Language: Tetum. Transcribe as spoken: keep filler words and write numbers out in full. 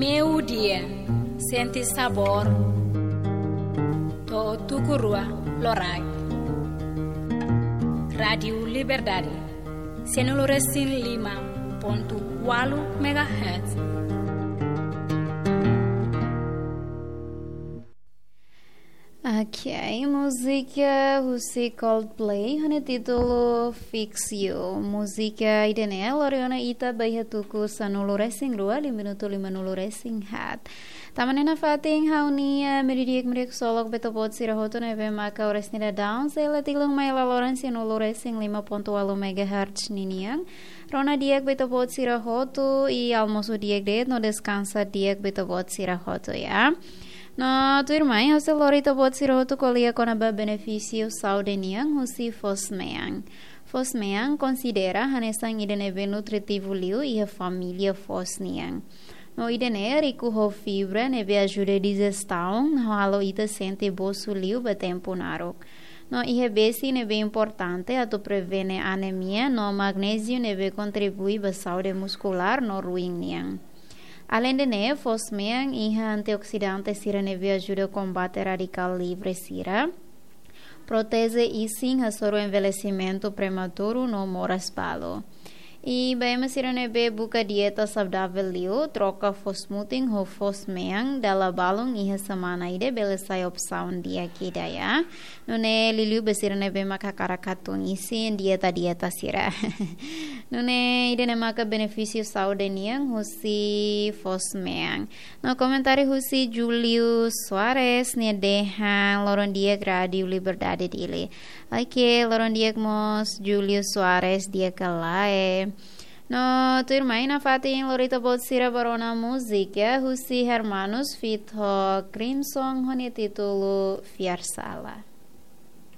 Meiudia, sente sabór. To'o tuku rua loraik. Rádiu Liberdade, sanulu-resin-lima pontu ualu megahertz. Ok, múzika husi Coldplay ho nia títulu Fix You. Múzika ida-ne'e lori ona ita ba iha tuku sanulu-resin-rua, lima minutu limanulu-resin-haat. Tama ona iha fatin ha'u-nia, eh, meiudia di'ak, meiudia ksolok ba ita-boot sira hotu ne'ebé maka oras ne'e daudaun sei la tilun mai iha laloran sanulu-resin-lima pontu ualu megahertz ninian. Rona di'ak ba ita-boot sira hotu, i almosu di'ak de'it no deskansa di'ak ba ita-boot sira hotu, ya. No tuirmai, ha'u sei lori ita-boot sira hotu ko'alia kona-ba benefísiu saúde nian husi foos-mean. Foos-mean konsidera hanesan ida ne'ebé nutritivu liu iha família foos nian. No ida-ne'e riku ho fibra ne'ebé ajuda dijestaun, no halo ita sente bosu liu ba tempu naruk. No iha besi ne'ebé importante atu prevene anemia, no magnéziu ne'ebé kontribui ba saúde muskulár no ruin nian. Alende ne'e, foos-mean iha antioksidante sira ne'ebé ajuda kombate radikál livre sira, proteje isin hasoru envelhesimentu prematuru no moras balu. I ba ema sira ne'ebé buka dieta saudavel liu, troka foos-mutin ho foos-mean dala balun iha semana ida bele sai opsaun di'ak ida, ya. Nune'e liuliu ba sira ne'ebé maka hakarak hatun isin, dieta-dieta sira. Nune'e ida-ne'e maka benefísiu saúde nian husi foos-mean. No komentáriu husi Julio Soares, nia dehan loron di'ak Rádiu Liberdade Dili. Ok, loron di'ak mós Julio Soares, di'ak ka lae. No tuirmai, iha fatin lori ita-boot sira ba rona múzika husi Hermanus feat ho Crimson ho nia títulu Fiar Sala.